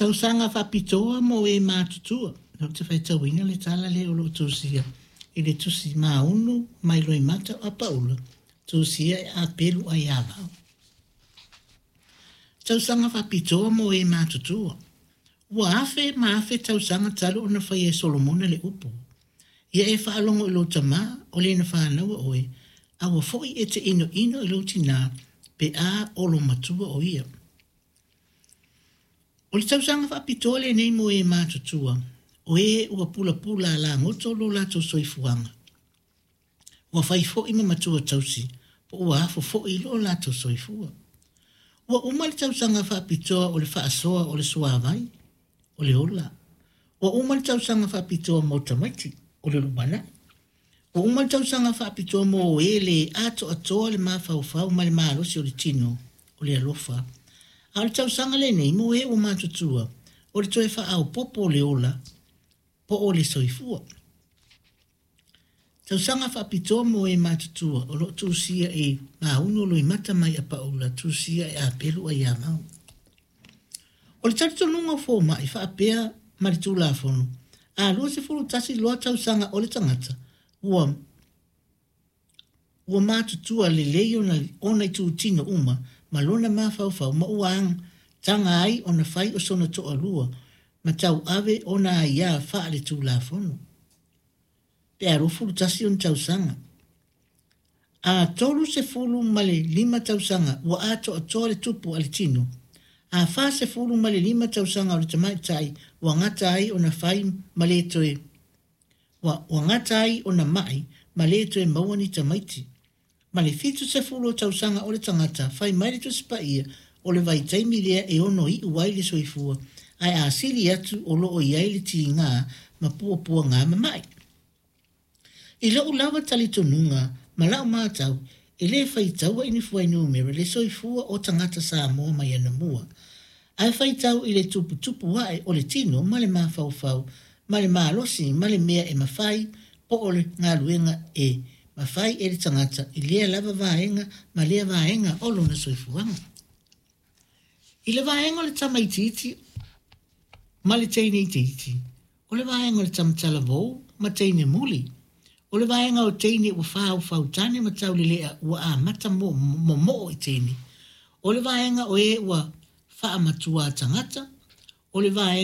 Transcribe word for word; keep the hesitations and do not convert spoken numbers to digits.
Tausaga faapitoa mo e matutua. Ou te faitauina le tala lea o lo o tusia i le tusi Maunu mai Loimata o Apaula, tusia e Apelu Aiavao. Tausaga faapitoa mo e matutua. Ua afe ma afe tausaga talu ona faia e Solomona le upu. Ia e faalogo i lou tamā o le na fanaua oe, aua foi e te inoino i lou tinā pe a olomatua o ia. O le tausaga faapitoa lenei mo e matutua, o e ua pulapula lagoto lo latou soifuaga. Ua fai foi ma matua tausi, po ua afo foi lo latou soifua. Ua uma le tausaga faapitoa o le faasoa o le suavai, o le ola. Ua uma le tausaga faapitoa mo tamaiti, o le lumanai. Ua uma le tausaga faapitoa mo e le atoatoa le mafaufau ma le malosi o le tino, o le alofa. A o le tausaga lenei mo e ua matutua, o le toe faaopoopo o le ola, po o le soifua. Tausaga faapitoa mo e matutua o lo o tusia i Maunu Loimata mai Apaula, tusia e Apelu Aiavao. O le talitonuga o foma'i faapea ma le Tulafono, a luasefulu tasi loa tausaga o le tagata, ua ua matutua lelei ona, ona itutino uma ma lona mafaufau ma ua taga ai ona fai o sona toalua ma tauave ona aiā faale-Tulafono. Pe a luafulu tasi ona tausaga. A tolu sefulu ma le lima tausaga ua atoatoa le tupu a le tino. A fa sefulu ma le lima tausaga o le tamaitai ua gata ai ona fai ma le toe ua, ua gata ai ona ma'i ma le toe maua ni tamaiti. Ma le fitu sefulu o tausaga o le tagata fai mai le Tusi Paia o le vaitaimi lea e ono iu ai le soifua ae a sili atu o lo o i ai le tigā ma puapuagā ma ma'i. I lou lava talitonuga ma lau matau, e le faitaua i ni fuainumera le soifua o tagata Samoa mai anamua, ae faitau i le tuputupu ae o le tino ma le mafaufau ma le malosi ma le mea e mafai po o le galuega e mafai e le tagata i lea lava vaega ma lea vaega o lona soifuaga. I le vaega o le tamaitiiti ma le teine itiiti, o le vaega o le tamatalavou ma teine muli, o le vaega o teine ua faaufautane ma taulelea ua amata momoo i teine, o le vaega o e ua faamatuā tagata, o le vaega